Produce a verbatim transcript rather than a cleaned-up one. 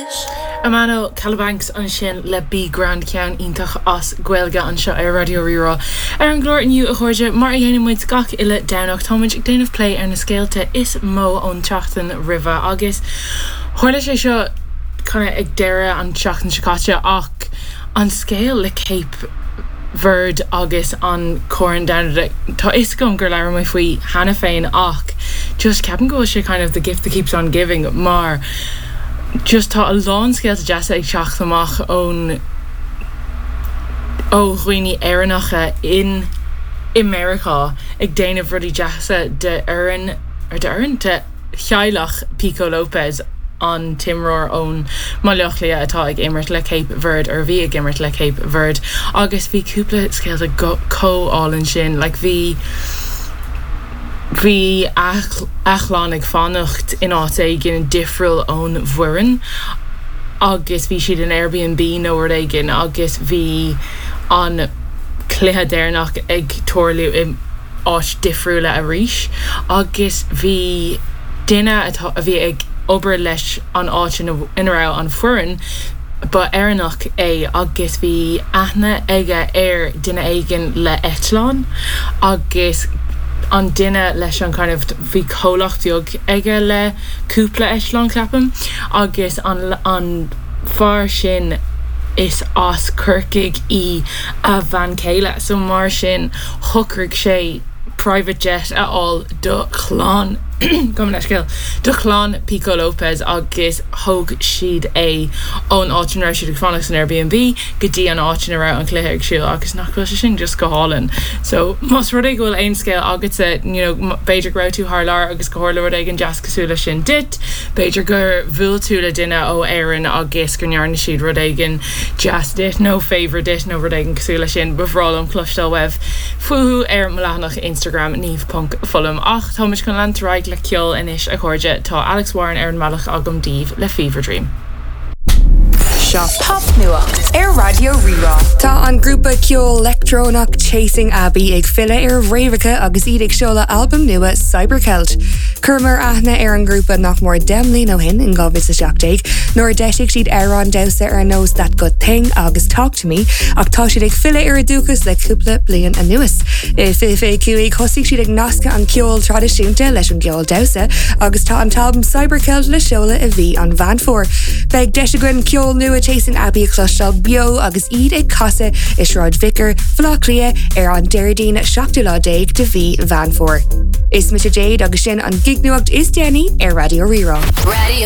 rush. Emmanuel Calabanks ansin le Be Grand ceann iontach as Gaeilge anseo ar Raidió Rí-Rá. Ar an gclár inniu a chairde mar a dhéanann muid gach uile Domhnach táimid ag déanamh plé ar na scéalta is mó ón tseachtain roimhe agus tharla sé seo kind of ag deireadh an tseachtain seo caite ach an scéal le Cape Verde agus an Corn Domhanda Tá is gom gur leir mé faoi cheana féin ach just ceapaim go bhfuil sé kind of the gift that keeps on giving mar just tá a lán scéalta deasa ag teacht amach ón ó dhaoine Éireannacha in i Meiriceá ag déanamh rudaí deasa de fhoireann ar d'fhoireann de theaghlach Pico Lopez an t-imreoir ón mBaile Átha Cliath atá ag imirt le Cape Verde ar bhí ag imirt le Cape Verde agus bhí cúpla scéalta chomh hálainn sin like bhí bhí a chlann ag fanacht in áit éigin difriúil ón bhfoireann agus bhí siad in Airbnb nó rud éigin agus bhí an cluiche deireanach ag tarlú in áit difriúla arís agus bhí duine atá a bhí ag obair leis an áit ina raibh an foireann ba Éireannach é agus bhí aithne aige ar duine éigin le eitleán agus an duine leis an kind of bhí comhlacht beag aige le cúpla eitleán ceapaim agus an an fear sin is as Corcaigh í a bhean chéile so mar sin shocraigh sé private jet a fháil do chlann gabh mo leithscéal do chlann Pico Lopez agus thóg siad é ón áit ina raibh siad ag fanacht san Airbnb go dtí an áit ina raibh an cluiche ag siúl agus nach bhfuil sé sin just go hálainn. So más rud é go bhfuil aon scéal agatsa you know, b'fhéidir go raibh tú thar lear agus go tharla rud éigin deas cosúil leis sin duit, b'fhéidir gur bhuail tú le duine ó Éirinn agus gur ndearna siad rud éigin deas duit nó favor duit nó rud éigin cosúil leis sin ba bhreá liom cloisteáil uaibh fúthu ar mo leathanach Instagram niamh.fulham ach táimid chun leanúint ar aghaidh le ceol anois a chairde tá Alex Warren ar an mbealach agam daoibh le Fever Dream. Seo popnuacht ar Raidió Rí-Rá. Tá an grúpa ceol leictreonach Chasing Abbey ag filleadh ar a bhfréamhacha agus iad ag seoladh albam nua Cybercelt. Chuireamar aithne ar an grúpa nach mór deich mbliana ó shin in dhá mhíle seacht déag, nuair a d'eisigh siad amhráin damhsa ar nós That Good Thing agus Talk to Me ach tá siad ag filleadh ar a dúchas le cúpla bliain anuas. I fiche fiche cúig thosaigh siad ag nascadh an ceol traidisiúnta leis an gceol damhsa agus tá an t-albam Cybercelt le seoladh i mhí an Mheán Fómhair. Beidh deis againn ceol nua Chasing Abbey a chloisteáil beo agus iad ag casadh i Sráid Vicar Bhaile Átha Cliath ar an Déardaoin seachtú lá déag de mhí Mheán Fómhair. Is mise Jade agus sin an gignuacht is déanaí ar Raidió Rí-Rá. Radio